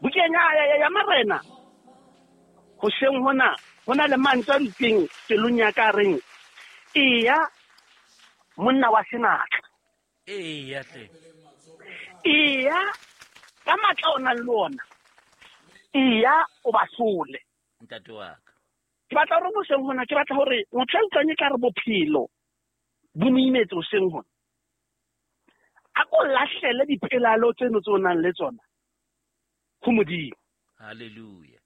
Bukeng ya Marena, hoseng hona, ho na le mantswe a dutseng pelong ya ka reng, eya monna wa senatla. Eya hle. Eya ka matla o nang le ona. Eya o ba hlole. Ntate wa ka. Ke batla hore hoseng hona, ke batla hore motho a utlwang e ka re bophelo bo mo imetse hoseng hona. A ko lahlele dipelaelo tseno tse o nang le tsona ho Modimo. Hallelujah.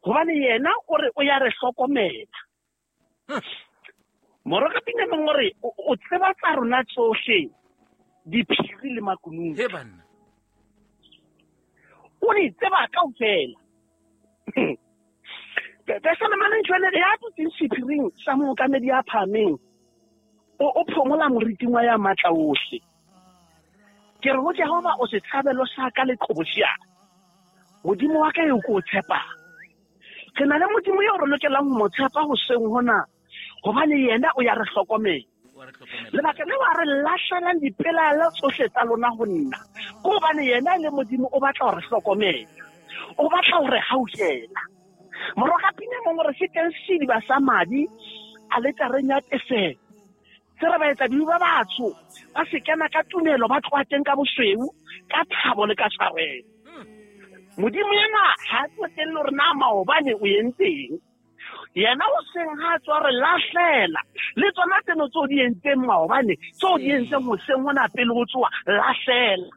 Hobane yena o re o ya re hlokomela. Morokapina mongwe o re o tseba tsa rona tsohle, diphiri le makunutu. He banna. O di tseba kaofela. Pesalema jwale ya dutseng sephiring sa mookamedi ya phahameng, o phomola moriting wa ya matla ohle. Ke re ho Jehova, o setshabelo sa ka le qhobosheane. Modimo wa ka eo ke o tshepang. Re na le Modimo eo re lokelang ho mo tshepa hoseng hona, hobane yena o ya re hlokomela. Lebaka leo a re lahlelang dipelaelo tsohle tsa lona ho nna, ke hobane yena e le Modimo o batla ho re hlokomela, o batla ho re hauhela. Morokapina mongwe re se teng sediba sa madi aletareng ya tefelo, se re baetsadibe ba batsho ba se kena ka tumelo, ba tloha teng ka bosweu, ka thabo le ka tshwarelo. Modimo yena ha a tsotelle hore na maobane o entseng. Yena o seng ha tswa re lahlela le tsona tseno tseo di entseng maobane, tseo di entseng hoseng hona pele ho tsoa, lahlela.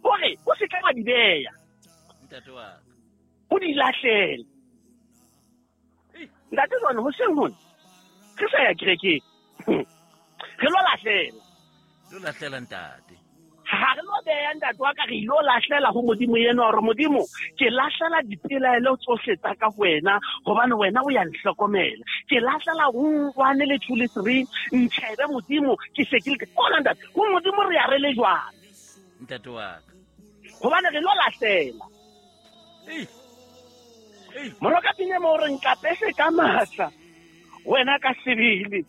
Hore o se ke wa di beya. Ntate wa ka. O di lahlele. Ntate jwale hoseng hona re sa ya kerekeng. Re lo lahlela. Lo lahlela ntate. Ha re lo beya ntate wa ka, re ilo lahlela ho Modimo yena, hore Modimo, ke lahlela dipelaelo tsohle tsa ka ho wena, hobane wena o ya nhlokomela. Ke lahlela 1 le 2 le 3, ntjhebe Modimo, ke se ke le ona ntate. Ho Modimo re ya re le jwang? Ntate wa ka. Hobane re lo lahlela. Ei. Ei. Morokapina mo re nkapese ka matla, wena ka sebele.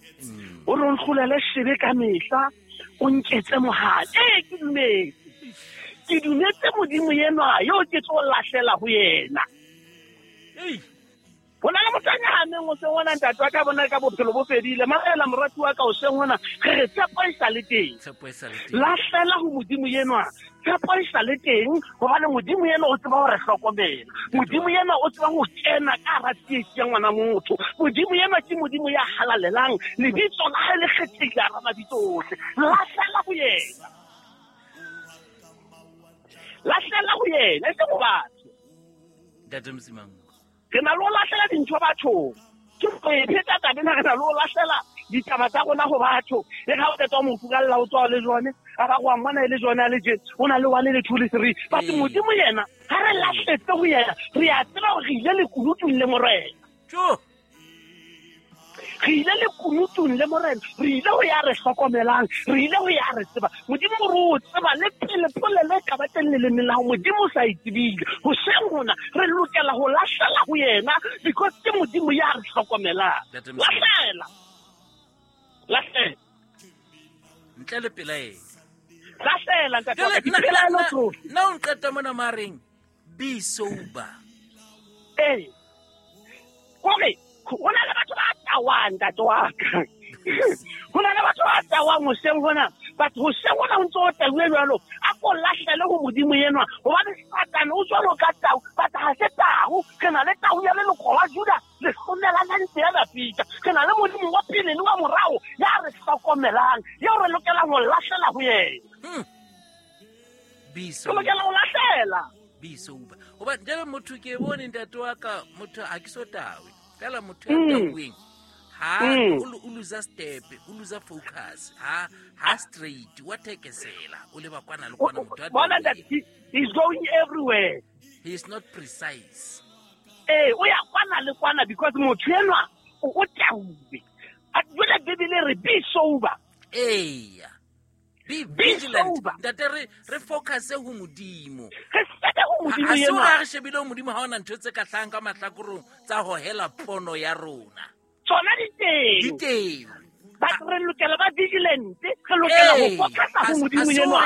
O re o ntlolele sebe ka mehla, o nketse mohale. Ee, ke dumetse. Ke dumetse Modimo enwa yo ke tlo lahlela ho yena. Ei. Ho na le motho a nyahameng hoseng hona, ntate wa ka bona ka bophelo bo fedile. Mamela morati wa ka hoseng hona, re re tshepo e sa le teng. Tshepo e sa le teng. Lahlela ho Modimo enwa, tshepo e sa le teng, hobane Modimo enwa o tseba ho re hlokomela. Modimo enwa o tseba ho kena ka hara tsietsi ya ngwana motho. Modimo enwa ke Modimo ya halalelang, lebitso la hae le kgethehile hara mabitso ohle. Lahlela ho yena. Lahlela ho yena, e seng ho batho. Ntate Msimang. Re na le ho lahlela dintho bathong. Ke go e pheta taba ena, re na le ho lahlela ditaba tsa rona ho batho. E ga o qeta ho mo furalla, o tswa le jone, a ba go a mmona e le jone a le tje, o na le 1 le 2 le 3. But Modimo yena, ha re lahletse ho yena, re a tseba hore re ile lekunutung le Morena. Tjo. Re ile lekunutung le Morena, re ile ho ya re hlokomelang, re ile ho ya re tseba. Modimo o re o tseba le pele polelo e ka ba teng lelemeng la hao, Modimo o sa e tsebile. Hoseng hona re lokela ho lahlela ho yena, because ke Modimo ya re hlokomelang. Ntate Mosadi. Lahlela. Lahlela. Ntle le pelaelo. Lahlela, ntate wa ka, Jwale, dipelaelo tsohle. nna o nqeta mona mareng, be sober. Ee. Hore ho na le batho ba tawang, ntate wa ka. Ho na le batho ba tawang hoseng hona. But hoseng hona ho ntso o tauwe jwalo, a ko lahlele ho Modimo enwa, hobane Satane o jwalo ka tau, but ha se tau. Re na le tau ya leloko la Juda, le hlomela la ntse ya Dafita. Re na le Modimo wa pele le wa morao ya re hlokomelang, eo re lokelang ho lahlela ho yena. Be Re sober. lokela ho lahlela. Be sober. Hoba jwale motho ke bone ntate wa ka, motho ha ke so tawe. Fela motho ya tauweng, ha o loser step, o loser focus, ha straight, wa thekesela, o leba kwana le kwana motho a Bona tauweng. ntate, he's going everywhere. He is not precise. Ee, o ya kwana le kwana because motho enwa o tauwe. A jwale Bibele re be sober. Eya. Be Be vigilant. sober. Ntate, re focus ho Modimo. Re shebe ho Modimo Ha se enwa. hore ha re shebile ho Modimo ha hona ntho tse ka hlahang ka mahlakorong tsa hohela pono ya rona. Tsona di teng. Di teng. But re lokela ba vigilant, re lokela ho Ee, focus ho Modimo ha se enwa. hore